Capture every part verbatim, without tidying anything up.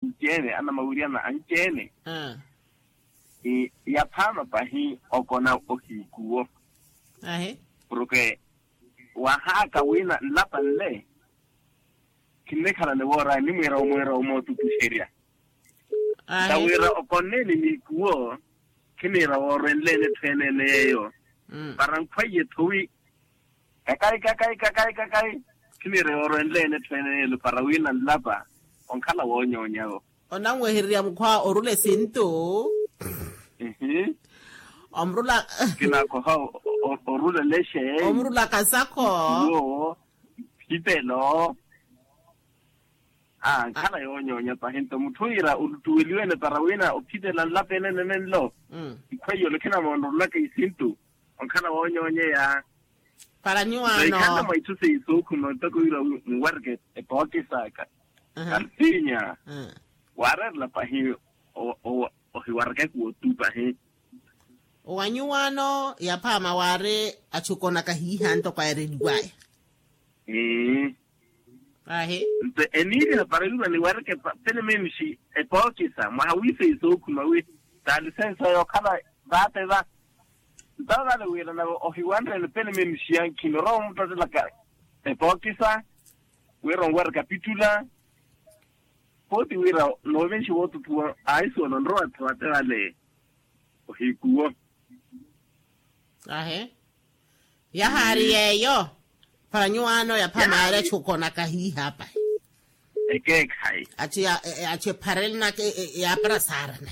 anci-ene anamawiriyana anci-ene. Yaphaama pahi okona ohiikuwo. Porke wahaaka wina nlapa nle, khinnikhala ni wooraya nimwiira omwiira omootutuxerya. Nta wira okonneeni niikuwo, khiniira woorwenleeni etthu enene yeeyo. Para nkhwaiye-tho wi kakayi kakayi kakayi kakayi, khiniira yoorwenleeni etthu enene yeeyo para wina nlapa onkhala woonyoonyawo. Onanwehererya mukhwa orula esintu. Omurula. Kinakoha orula lexe. Omurula kasakho. Wo phitelo. Aa nkhala yoonyoonya pahi nto mutthu wira olutuweliwene para wina ophitela nlapeene nene nlo. Ikhweiyo olokhinamoonorolaka isintu onkhala woonyoonyeya. Para nyuwaano. Ikhala mwa itthu seiso okhuma ntoko wira muwarike epookisaka. Kansinya waareerela pahi ohiwarikaka wotupa hi. Wa nyuwaano yaphaama waari achukonaka hiiha ntoko aereliwaya. Ahi. Nto eniiriha para yurwa niwarike penemenixi epookisa mwaha wiiseiso okhuma wi taalisensa yookhala vaate va. Nto vale wira nawe ohiwanreeni penemenixi yankhini orowa omuttattelaka epookisa wira onwarika pittula. Pooti wira noovenxi wootuthuwa aisuwela onrowa atthu ate vale ohiikuwo. Ahe. Yahaari yeeyo. Para nyuwaano yapha maari achukonaka hiiha apahi. Ekeekhayi. Achu epharelenaka yaapara saarana.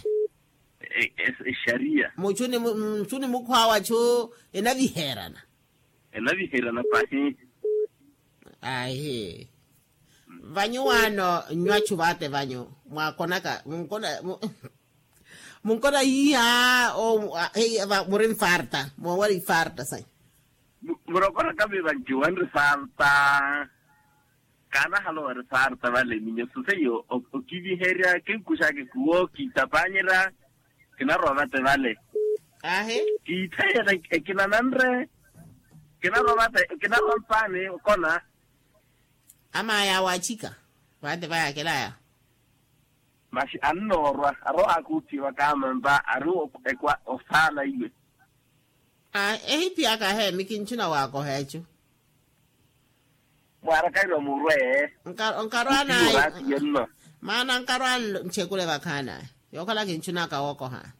Exariya. Muchuni mukhwa wachu enaviherana. Enaviherana pahi. Ahi. Vanyuwaano nnywachu vaate vanyu mwaakonaka munkona hiiha. Muri nfarta moowari ifarta sayi. Murokoraka viva nci wanri farta. Kaanahala owari farta vale minyo soseiyo okiviherya kinkuxaka ekuwo kiitapanyerya. Kinarowa vate vale. Ahi. Kiittheyela ekinananre. Kinarowa vate kinarowa mpaani okona. Amaya waachika. Vate vayakelaya. Masi annoorwa arowa akuuttiwa kaamampa ari ekwa osaala iwe. Ehiphiyaka heemi kinchuna waakoha echu. Mwaarakairwa murwe. Nkarwaana. Maana nkarwaana nchekule vakhaana. Yookhala kinchunaka wookoha.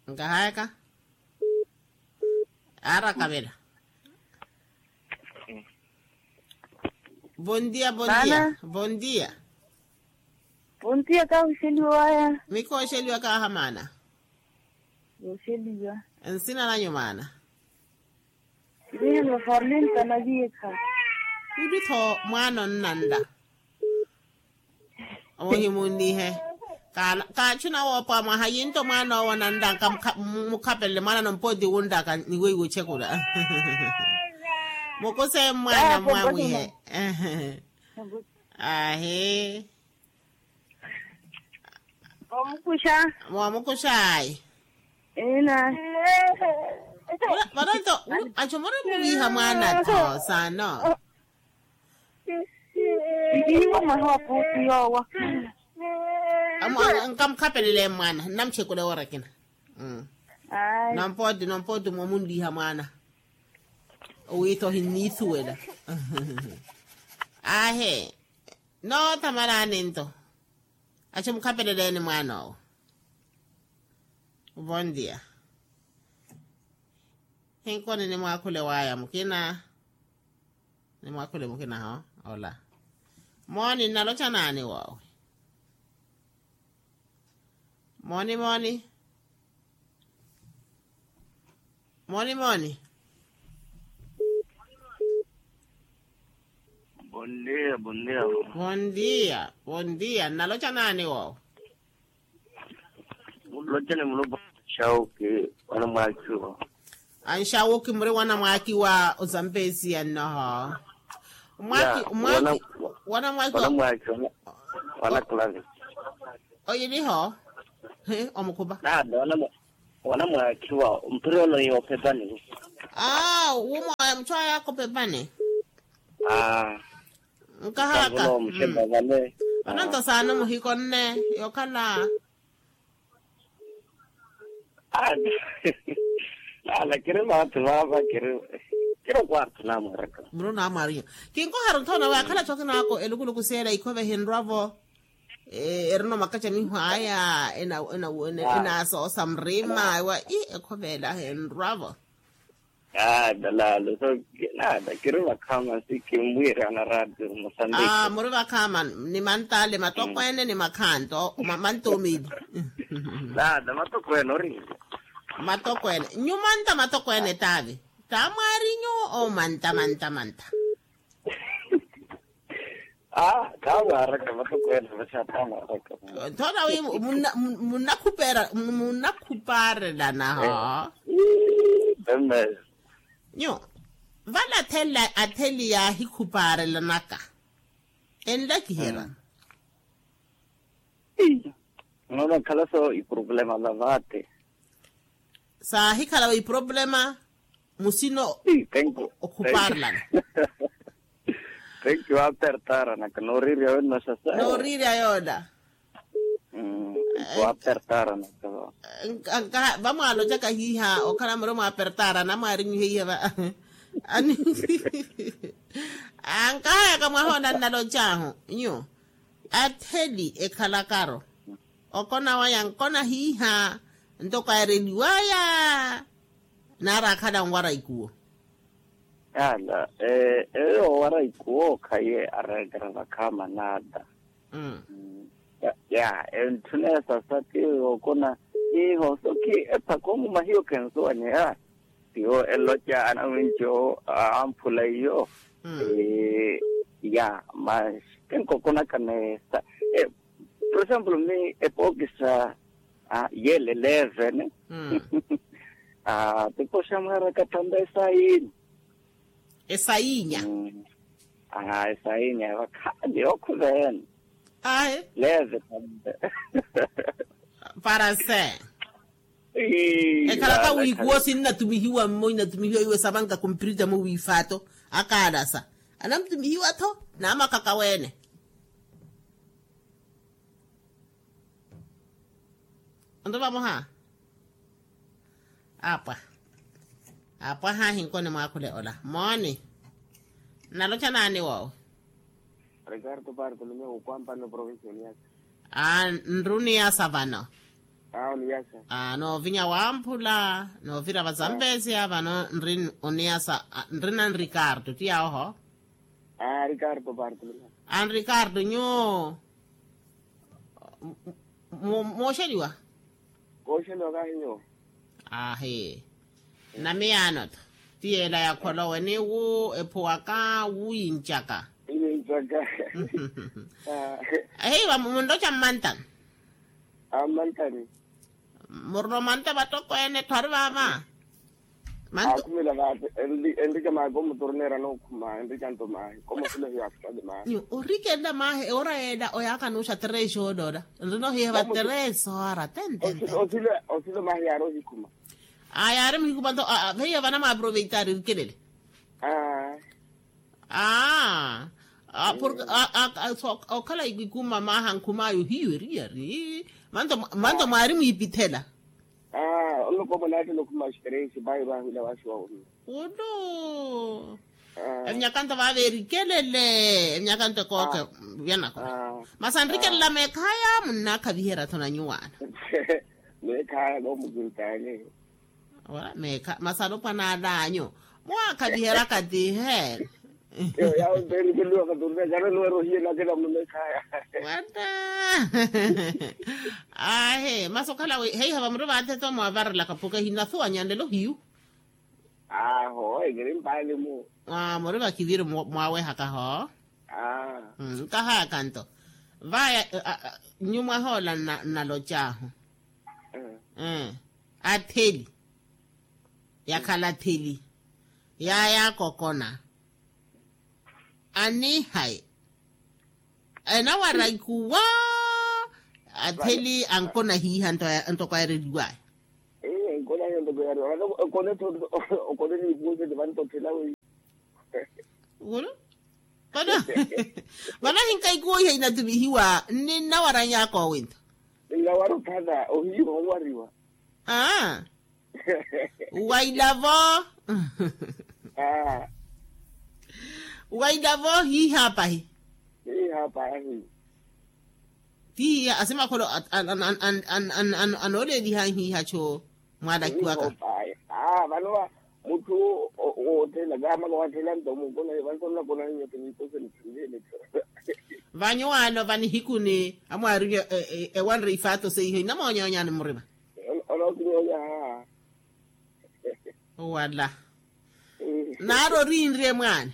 Nkahayaka. Aarakavela. Bondia bondia. Bondia. Bondia kahuxeliwaya. Mikooxeliwa kaahamaana. Yooxeliwa. Nsina nanyu maana. Irihe maforlinta naviekha. Uli-tho mwaana onnanla. Ohimunnihe. Kaachuna woopowa mwaha yinto mwaana owo nanla nkamukhapelele mwaana nompooti wunlaka niweiwe ochekula. Mukuse mwaana mwamwihe. Ahi. Moomukuxa. Moomukuxaayi. Ina. Vano nto achu muri muviiha mwaana-tho saano. Ihiwa mwaha wa puusi yoowa. Nkamukhapelele mwaana nnamuchekule woora ekina. Nompooti nompooti moomunliiha mwaana. Owiitha ohinniithuwela. Aahe. Noothamalaani nto. Achu mukhapeleleeni mwaan'owo. Vondia. Hinkoni nimwaakhule waaya mukina. Nimwaakhule mukina ho. Ola. Mooni nnalocha naani woowi? Mooni mooni. Mooni mooni. Bondia bondia. Bondia bondia nnalocha naani woowo? Mulocha ni mulopa. Anxawuki. Wana mwaakiwa. Anxawuki muri wana mwaakiwa ozampesiya nnoho. Mwaki mwaki. Wana mwaakiwa. Wana klavi. Oyiliho. Omukhupa. Nada wana mwa- Wana mwaakhiwa mpira ono yoopepani. Aa wumwa muchwaya akopepane. Aa nkahaka. Vano nto saana muhikonne yokhala. Ala kiri vaathu vaava kiri kiri okwaarthu namwaraka. Muru namwarinya. Kinkoharu nthona waakhala chokinaako elukuluku seela ikhove hinrwavo. Erino makacha miho aya. Enasoosa murima ewa i ekhove ela hinrwavo. Aa dalalo so nada kiri vakhama si kimwirana radio musambiki. Muri vakhama ni mantale matokweene ni makhanto mantoomeili. Nada matokweene oriri. Matokweene nyumanta matokweene taavi. Tamwari nyu o manta manta manta. Aa khaamwaraka matokweene vaxa khaamwaraka. Nthona wi munnakhuparelana ho. Nyu vale atheli yaahikhuparelanaka enlakiherya. Noona nkhala so iproblema la vaate. Saahikhala wa iproblema musino. Okhuparelana. Tenki waapertaranaka nooriirya wennoxa sa nooriirya yoona. Waapertaranaka. Vamwaalocaka hiiha okhala muri mwaapertarana mwaarinyuhe iha va. Ani ankahayaka mwahoona nnalocahu nyu atheli ekhalakaro. Okona waya nkona hiiha ntoko aereliwaya. Naari akhala nwaraiku wo. Ala eyo owara ikuwo khaye areekera vakhaama naada. Ya entthuna esasa ti okona iho so khi ephaka omumahiyo khensuwanyeya. Tiwo eloca anawinci owo amphula iyo. Ya mas kinkokonaka nesa. Por exemplo mi epokisa yele levene. Tipoxa mwaraka thampa esayini. Esayinya. Esayinya vakhaali okhuvene. Ahi leve thampa. Para se ekhalaka wiikuwo sinnatumihiwa mmo inatumihiwa iwe savanka kumpirita mo wiifaato akaalasa. Anamtumihiwa-tho namakaka weene. Onto vamoha apwa. Apwa haahi nkoni mwaakhule ola mooni. Nnalocha naani woowe? Ricardo parto nimeho ukwampani provincia oniyasa. Aa nri oniyasa vano. Aa oniyasa. Aa noovinya wamphula noovira vazambesia vano nri oniyasa. Nri na nricardo ti yawoho. Aa ricardo parto nimeho. Aa nricardo nyuwo mooxeliwa. Kooxeliwa kahi nyuwo. Ahi. Namiyaano-tho ti yeela yakholowe ni wu ephuwaka wu yincaka. Yincaka. Heiva munroca mmantani. Ammantani. Murina omanta vatokweene-tho ari vaava. Akhumela vaate. Enrike maahi komuturneera nookhuma enrike anto maahi komusulehiwa akhutale maahi. Orikela maahi ewora yeela oyaakanuxa três horas nrinohiye va três horas tentente. Osilo maahi yaari ohikhuma. Aa yaari muhikhuma nto. Veiya vana mwaaproveitari erikelele. Aa. Aa okhala ikikuma maaha nkhumaayo hiyo eriyari. Manto mwaari mwiipithela. Aa onloko mwanaattela okhuma axiperensi pahi vaahwila waaxiwa. Ulu. Emyakanto vaava erikelele. Emyakanto ekooke vyanako. Masi anrikelela meekhaya munnaakhaviherya-tho na nyuwaana. Meekhaya koomukintaani. Masi alopwana alaanyu mwaakhaviheryaka tihe. Yawo mpeni kuluwa katurina kana nuwerohiye nakela mumeekhaya. Wata. Ahe masi okhala heiha vamuri vaatheto mwavarelaka puka hinasuwanya nlelo hiyu. Aho ekiri mpaali mu. Muri vakiviri mwawehakaho. Nkahayaka nto vaya. Nyu mwahoola nnalocahu. Atheli yakhala atheli yaya akokona. Anihayi enawara ikuwa. Atheli ankona hiiha ntoko aereliwaya. Okone tho okone niipuwese ti vantotthela wei. Wulu? Vano vano ahinka ikuwo iha inatumihiwa nninnawaranyaka owintho. Nnawara ophata ohiiwa onwariwa. Aa. Wailavo. Aa. Wailavo hiiha pahi. Hiiha pahi. Ti hiiha asimakholo. Anooleeliha hiiha cho mwalakiwaka. Vano va mutthu woothela kaamaka waathela nto munkona vansonakonani nyote ninkose nitthunjele. Vanyu wano vanihikuni amwaari ewanre ifaato seiho inamoonyoonyani murima. Onookinyoonyaha. Wala. Naari oriinrye mwaani.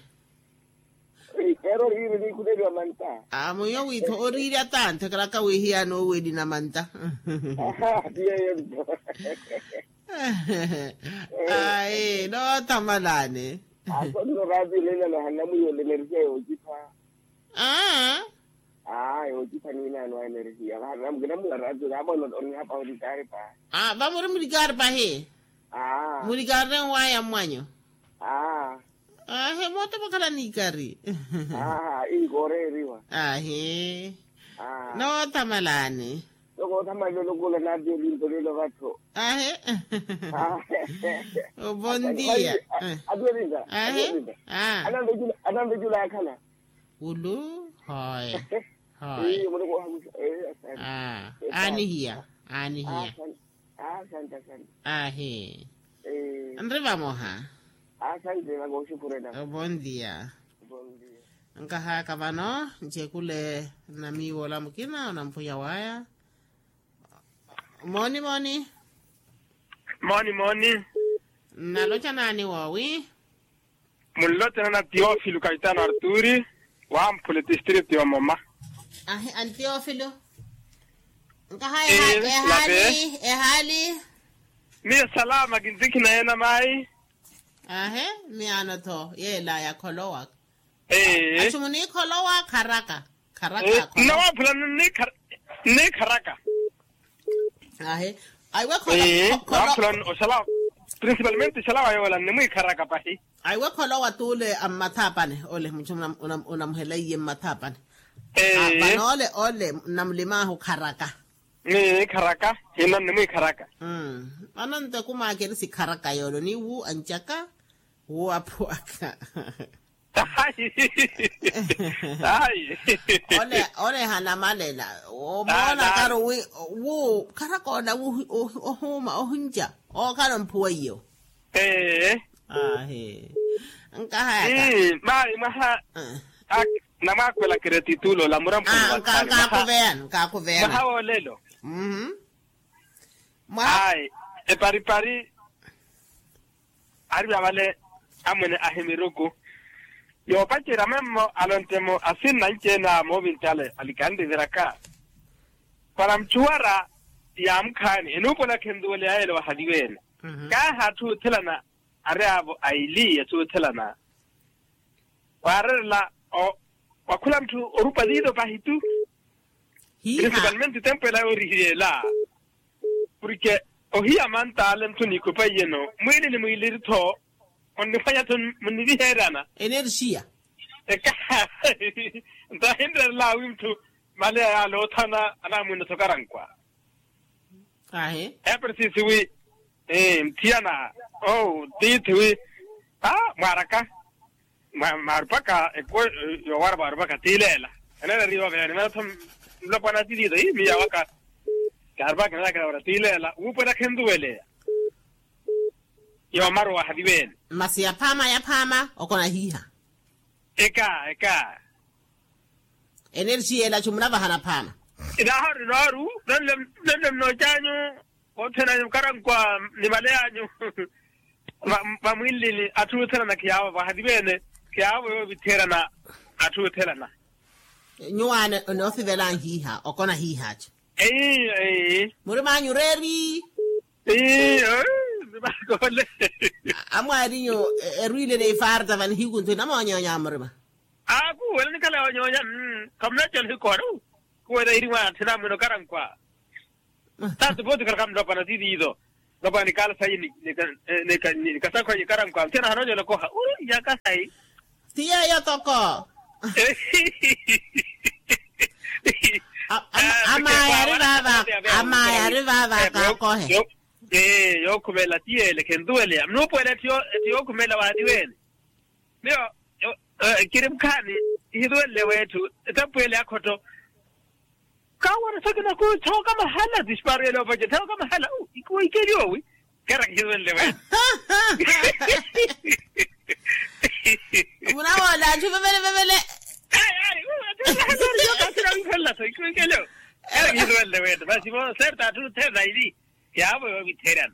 Eero oriinrye niikhuteliwa manta. Mwiyo wiitho oriirya tanthe karaka wiihiyana owelina manta. Tiyeyo nto. Ayi noothamalani. Aso nno raati olenana hanamwiyo oleneriha yoocipha. Aa. Aa yoocipha niinaano energia vaha namukina mula raati kaapa onihapa orikaari pahi. Aa vamuri murikaari pahi. Aa murikaari waya mwanyu. Aa. Aahe moote vakhala nikari. Aaha inkooreeriwa. Aahe. Noothamalaani. Nokoothamala olokola naati olinto lelo vattho. Aahe. Obondia. Atuwelinta. Aahe. Ananvecula akhala. Ulu. Hoye. Hoye. Aanihiya. Aanihiya. Aahi. Nri vamoha. Obondia. Nkahaka vano ncekule nnamiiwa ola mukina onampwiya waya. Mooni mooni. Mooni mooni. Nnaloca naani woowi? Munlote nana tiofilo kaitano arturi. Wamphule tistritu yomoma. Ahi antiofilo. Nkaha ehali ehali. Miyo salama kintikhina yena mayi. Ahi miyaano tho yeela yakholowa. Achumu niikholowa kharaka. Kharaka. Nnawamphula. Nnikharaka. Ahi. Aiwe kholo. Kholo. Principalmente oxalawa yoola nnimwiikharaka pahi. Aiwe kholowa t'ule a mmathaapani ole muchu. Onamuhela iye mmathaapani. Vano ole ole nnamulim'ahu kharaka. Ni kharaka. Hino nnimwiikharaka. Vano nto ekum'aka eri sikharaka yoole oniwu ancaka. Wu aphuwaka. Ayi. Ayi. Ole ole hanamalela. Omoona kari wi wu kharaka ola wi ohuuma ohunca ookhala omphuwa iyo. Ee. Ahi. Nkahayaka. Mayi mwaha. Namwakhwela keretitu loola muramphuni. Nkakuveyani nkakuveyani. Mwaha woolelo. Ayi. Eparipari. Ari vya vale amwene ahimiruku. Yoopacerya memmo alontte-mo asinna anci-ene a moovintale alikanriviraka. Para muchuwara yaamukhaani enuupola khentuwele yaayele wahaliweene. Kaahi atthu oothelana ari avo aili atthu oothelana. Waarerela wakhula mutthu orupa liilo pahi tu. Principalmente tempo ela yoorihiyeela. Porke ohiya mantale mutthu niikhupa iyeno mwiili ni mwiiliri-tho. Onniphwanya-tho munniviheeryana. Energia. Eka nto ahinreerela wi mutthu maleya yaale oothana anamwiina-tho karankwa. Ahi. Epersisi wi mthiyana oo tiithi wi mwaaraka. Maarupaka ekuwe yoowara maarupaka tiileela. Eneereriwa veyani maratho nlopwana tiliito ii miya waka. Kaarupaka eneeraka yoowara tiileela wuupo enakhentuweleya. Yoomaru wahaliweene. Masi yaphaama yaphaama okona hiiha. Eka eka. Energia ela chumunavahana phaama. Inaahori nooru nonle mnooc'anyu. Othena mukarankwa ni maleyanyu. Vamwinlini atthu oothelana khiyaavo vahati veene. Khiyaavo yoovitherana atthu oothelana. Nyuwaani enoosivelanhiiha okona hiihaaci. Eii eii. Murimanyu reeri. Eii. Murimakole. Amwaarinyu erwiile neifarta vanihiku nthu inamoonyoonya murima. Aa kuwela nikhala yoonyoonya. Khamunacela ohikoona. Kuwela iri mwaana thinamwino karankwa. Taati vooti khalaka mulopana tiliizo. Nopani kala sayi ni kasakho yikarankwa muthiana hanoonyela okoha uri yaka sayi. Ti yeeyo toko. Amaya ari vaava. Amaya ari vaava kaakohe. Ee yookhumela ti yeele khentuweleya minuupuwela etti yookhumela waati weene. Miyo kiri mukhaani. Ihiruwelele weetthu etapuwele akhotto. Kaawara sakina ku thawaka mahala tisparo yele opace thawaka mahala. Ikeli owi. Kera kihiruwelele weetthu. Munawoola anthu vevele vevele. Kera kihiruwelele weetthu masi vo serta atthu thena ili. Yaavo yoovitherana.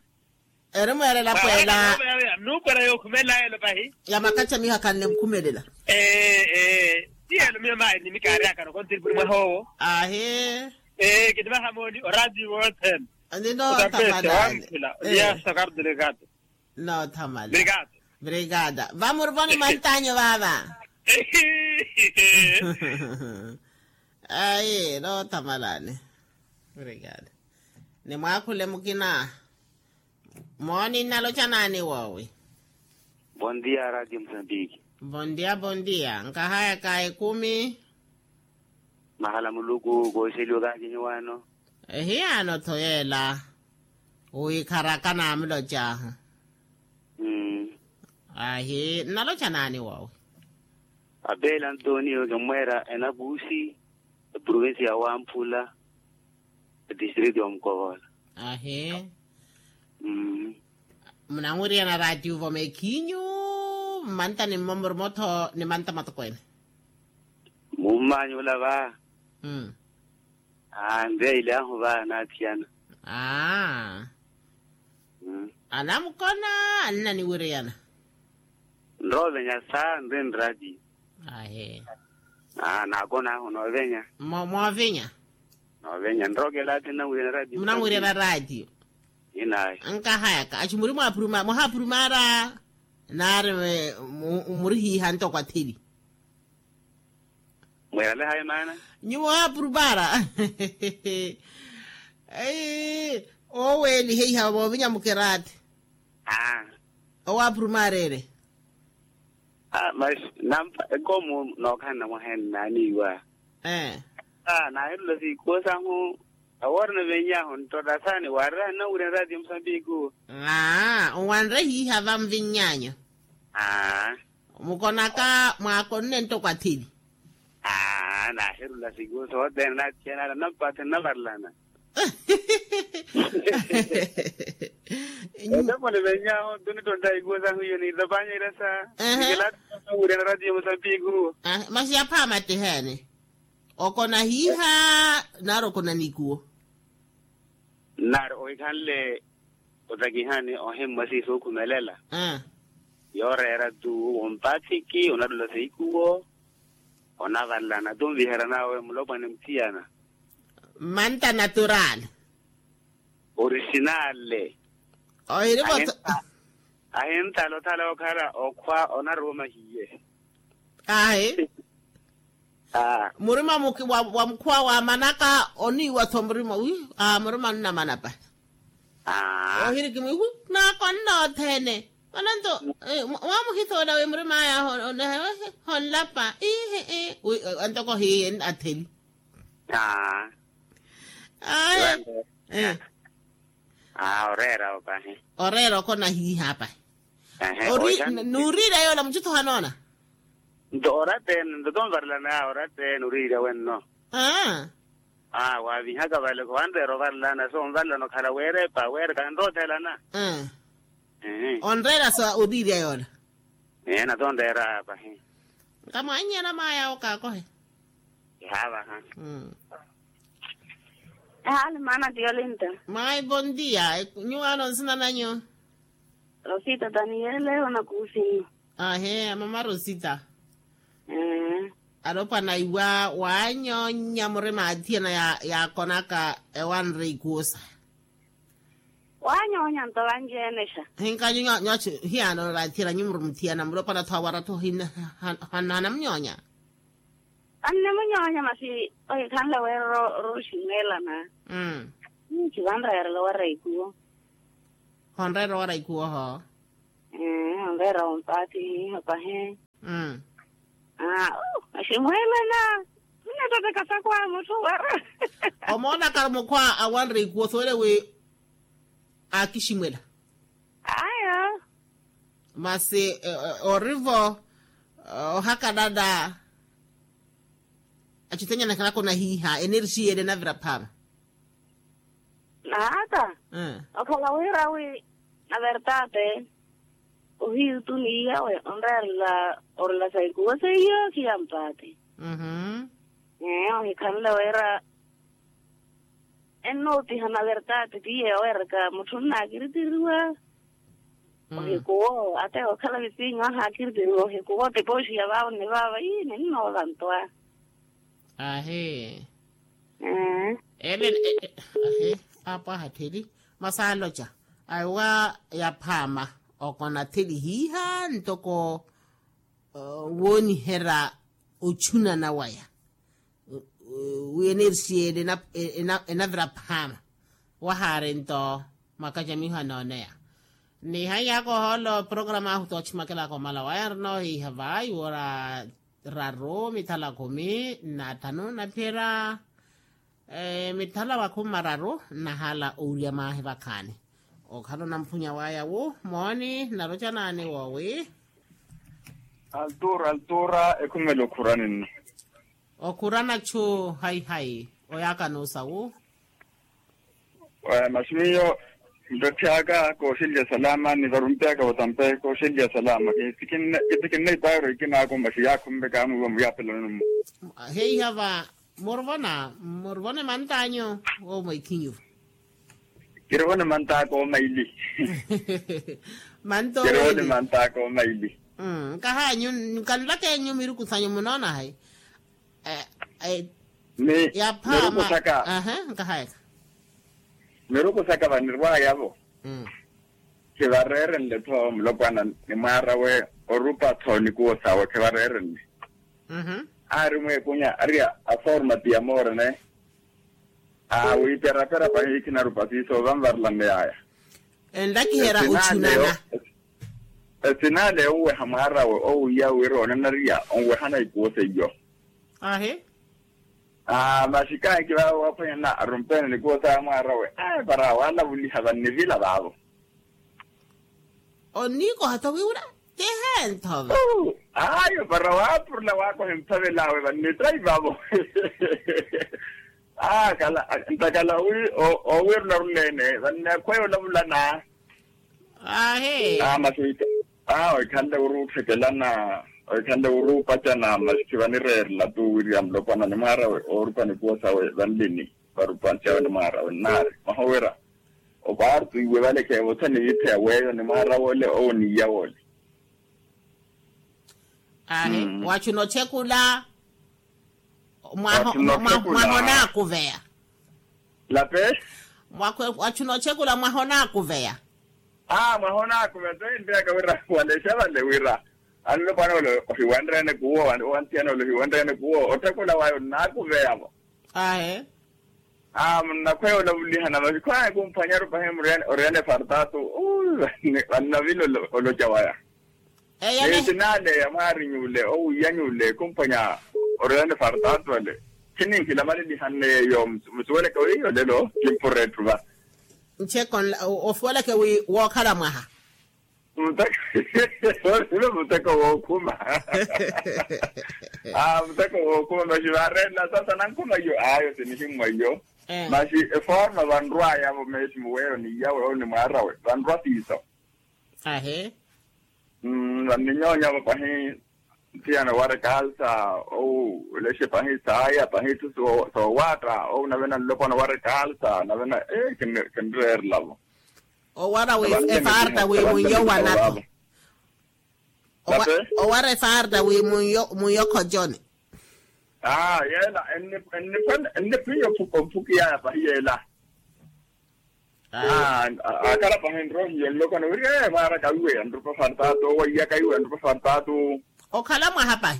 Eri mweerela pweela. Nuukwela yookhumela elo pahi. Ya makacha miha khanne mukhumelela. Ee ee. Ti elo miyo maayi ni mikaari akano kontiripuri mwaha owo. Ahi. Ee kitivaha mooni orati wothene. Nino othamalani. Noothamalani. Brigada. Vamurivoni mantanyo vaava. Ayi noothamalani. Brigada. Nimwaakhule mukina. Mooni nnaloca naani woowi? Bondia radio mosambiki. Bondia bondia nkahayaka ekumi. Mahala muluku kooxeliwa kaakinyu waano. Ehiyaano-tho yeela. Wiikharaka naamulocaahu. Ahi nnaloca naani woowi? Apeela antonio kimmweera enakuusi. Eprovincia ya wamphula. Etistrito ya mukovola. Ahi. Munanwiriyana raatiyo vomekhinyu. Mmanta ni mmo murimo-tho ni manta matokwene. Mummanyu ola va. Aa nreya ile ahu va naathiyana. Aa. Anamukona. Annaniwiriyana. Nroovenya saa nri nrati. Ahi. Aa naakona ahu noovenya. Moovinya. Noovenya nrookela ati nnawiriyana rati. Munamwiriyana rati. Inayi. Nkahayaka aci muri mwahapurumaara. Naari murihiiha ntoko athili. Mweerale hayi maana. Nyuwo owaapurupara. Oweelihe iha voovinya mukeraati. Owaapurupara ere. Masi nampa ekomu nookhanna mwaheene naaniiwa. Naaherula siikuwo sahu. Awoorina venyahu nttottasani waarira nnawirya nraati ya musambiki uwo. Aa owanre hiiha va mvinnyanyu. Aa. Mukonaka mwaakonne nttoko athili. Aa naaherula siku sothene naathiyana ala nnampathi nnavarelana. Eteko nivenyaho ntunittontta ikuwo sahu iyo niitapanyerya sa. Nikilaathi nnawiryana ratiyo musambiki uwo. Masi yaphaama ttiheene. Okona hiiha. Nari okona nikuwo. Nari ohikhanle otakihani ohimmwa siiso okhumelela. Yooreera tu ompaathiki onattola seikuwo. Onavalana tu nviherana awe mulopwane muthiyana. Manta natural. Orisinale. Ohirivo. Ahintala othala okhala okhwa onaruwo mahiye. Ahi. Murima wa mukhuwa waamanaka oniiwa-tho murima wi. Murima nnamana pa. Ohiriki mwihu. Naakonna othene. Mananto. Mwamuhithoola wi murima aya honlapa ihi. Antoko hiye atheli. Aya. Oreera opahi. Oreera okona hiiha apahi. Nuuriirya yoola mucutho hanoona. Nto orattene nto tonvarelana ya orattene uriirya wenno. Aa waavihaka vale kowanreera ovarelana so onvarelana okhala weerepa weereka nroothelana. Onreera sa uriirya yoola. Ee nata onreera apahi. Nkamwannyana maayawo kaakohe. Kihaavaha. Ehaali maana ti yolinta. Maayi bondia. Nyuwo ano nsina nanyu? Rosita taniyele onakuusinnu. Ahe amama rosita. Alopwana iwa waanyoonya murima athiyana yaakonaka ewanre ikuusa. Waanyoonya nto vanci-ene xa. Hinkanyu nyooci hiyaano raathiyana nyumuru muthiyana mulopwana tho awara tho hanamunyoonya. Annemunyoonya masi ohikhanle wira rooxinelana. Nci vanreerela wara ikuwo. Honreera owara ikuwo oho. Onreera ompaati iho pahi. Aximweelana. Minattotteka sakwaya mutthu owara. Omoonaka mukhwa awanre ikuwo soole wi akiximwela. Aya. Masi orivo ohakanana. Acitenya nakhilaka onahiiha enerxi yene enavira phaama. Naata. Okhala wira wi na verdade. Ohiyu tu ni iyawe onreerela orela sa ikuwo seiyo khiya mpaati. Ohikhanle wira ennoopiha na verdade ti yeeweraka mutthu nnaakiritiriwa. Ohikuwo ate okhala visinyo ahaakiriteriwa ohikuwo tipooxiya vaavo ni vaavo ii ninnoova ntwa. Ahi. Ele ahi. Apwaha theli. Masi aloca aiwa yaphaama okona theli hiiha ntoko wooniherya ochunana waya. Wi enerxi ele enavira phaama wahaari nto. Mwakacamiho anooneya. Nihaiyaaka ohoolo programa ahu toochimakelaka omala waya nrina ohiiha vayi wora raru mithala khumi na thanu naphiyerya mithala makhumi mararu nnahala owurya mwahi vakhaani. Okhala onamphunya waya wu mooni nnarocanani woowi. Altura altura ekhumela okhurani nno. Okhurana chu hayihayi oyaaka nuusa wu. Masi miyo ntotthiyaka kooxelya salama ni varumpiyaka vatampe kooxelya salama. Kitikinne ipaaro ikinaako masi yaakhumpe kaamwiiwa muyaapelano mmo. Heiha va muruvona muruvona emantanyu. Wo mweekhinyu. Kiruvona emantaka omaili. Kiruvona emantaka omaili. Nkahanyu nkanlaka enyu miruku sanyu munoona hayi? Yaphaama. Miruku saka vanirwaya-vo. Khivareerenle-tho mulopwana ni mwaara we orupa-tho nikuwo sawe khivareerenle. Aari mweekunya ari a forma ti ya moorene. Aa wiiperapera pahi khinarupa siiso vanvarelane yaya. Enlakiherya ochunana. Esinaale onweha mwaarawe owiya wira onanariya onwehana ikuwo seiyo. Ahi. Aa masi kaahiki vaawe waaphwanyana arumpeene nikuwo saya mwaarawe. Aa para waalavuliha vannivila vaavo. Onniikoha-tho wiwira? Tiheentho va. Ayo para waapurula waakoha emphavel'awe vannittaiva-vo. Aa kala ntakhala wi owiirula runeene vanneekhweya olavulana. Ahi. Aa masi aa oikhanle wiri ottthekelana oikhanle wiri opacana masi khivanireerela tu wiriya mulopwana ni mwaarawe oorupa nikuwo sawe vanlini. Varupwansi awe ni mwaarawe nnaari mwaha owira opaartu iwe vale kheevosa ni yiitheya weeyo ni mwaarawe ole owo ni iyawe ole. Ahi. Wachuna ochekula mwaha onaakuveya. Lape. Wachuna ochekula mwaha onaakuveya. Aa mwaha onaakuveya tohinteyaka wira walexa vale wira anlopwana ole ohiwenreene kuwo owanthiyana ole ohiwenreene kuwo otthekula waya onnaakuveyavo. Ahe. Aa munnakhweya olavulihana masi khwaya kumphwanyaru pahi muriyani oriyani efartaatu. Vannavila oloca waya. Eyo ni sinaaleya mwaari nyuule owiya nyuule kumphwanya oriyani efartaatu ale. Khininkhila malilihanne yeeyo. Musuweleke wiiyo lelo kimpura etthu va. Ncheko nla osuweleke wi wookhala mwaha. Muteko wookhuma. Aa muteko wookhuma masi vaareela sasa nankhuma iyo ayo sinihimmwa iyo. Masi eforma vanrwayavo meesi muweyo ni iyawe owo ni mwaarawe vanrwa siiso. Ahi. Vanninyonyavo pahi nthiyana owareka alsa owu olexe pahi saaya pahi itthu soowaatta owu nave nanlopwana owareka alsa nave na ee kinreerelavo. Owara wi efarta wi munyo wana-tho. Owara efarta wi munyo khojoni. Aa yeela enniphiya omphuki yaya pahi yeela. Akhala pahi nrohiyo nlokona wiri ee mwaaraka iwe anrupa fartaatu owaiyaka iwe anrupa fartaatu. Okhala mwaha pahi.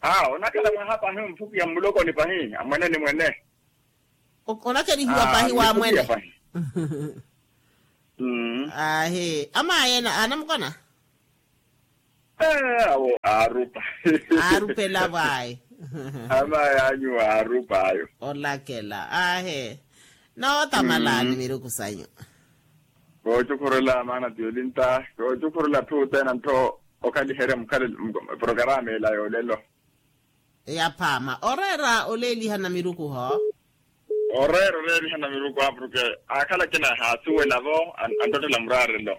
Aa onakhala mwaha pahi omphukiya mmulokoni pahi amwene ni mwene. Onakerihiwa pahi wa mwene. Aahi, amaye anamukona? Awo aarupa. Aarupela vwayi. Amaye anyu aarupa ayo. Olakela aahi. Noota malani miruku sanyu? Koocukhurela maana ti olinta koocukhurela atthu othene anttho okhaliherya mukhale. Porokarama ela yoolelo. Yaphaama oreera oleelihana miruku ho. Oreera oleelihana miruku apuruke. Aakhala akina ehaasuwelavo anttottela muraarelo.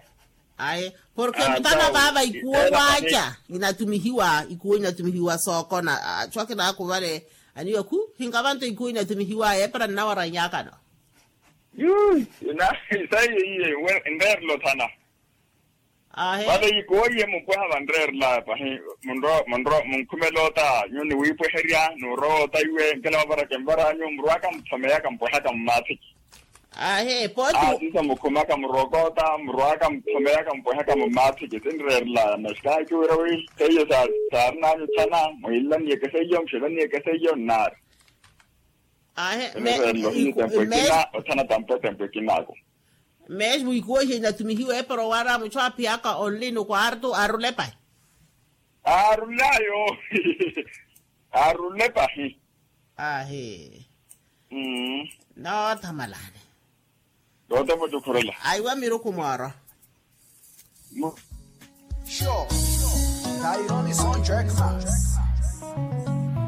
Aye, porke mutana vaava ikuwo waaca inatumihiwa ikuwo inatumihiwa sookona. Atthu akina akuvale aniwe khu hinkavanto ikuwo inatumihiwa yeepera nnawarannyakano. Yuu. Saiye iye nreerela othana. Vale yikuwo iye mupweha vanreerelaya pahi. Munkhumela ota nyuwo niwiipweherya nuurowa ota iwe nkela vavaraka envaranyu murwaka muthomeya kampwehaka mumaathiki. Ahe pooti. Aasiisa mukhumaka murwaka ota murwaka muthomeya kampwehaka mumaathiki sinreerelaya masi kaahikhi wira wi seiyo saarinanyu thana mwiilaniyeke seiyo muxelaniyeke seiyo nnaari. Ahe. Othana tampwe tempwe kinaako. Meesi mwiikuwo ihi inatumihiwa epero waara muchu aaphiyaka onlini okwaartu aarulepahi. Aarulepahi. Ahi. Noothamalani. Nootepa ocukhurela. Aiwa miruku mooro. Sure. Taironi son jerkma.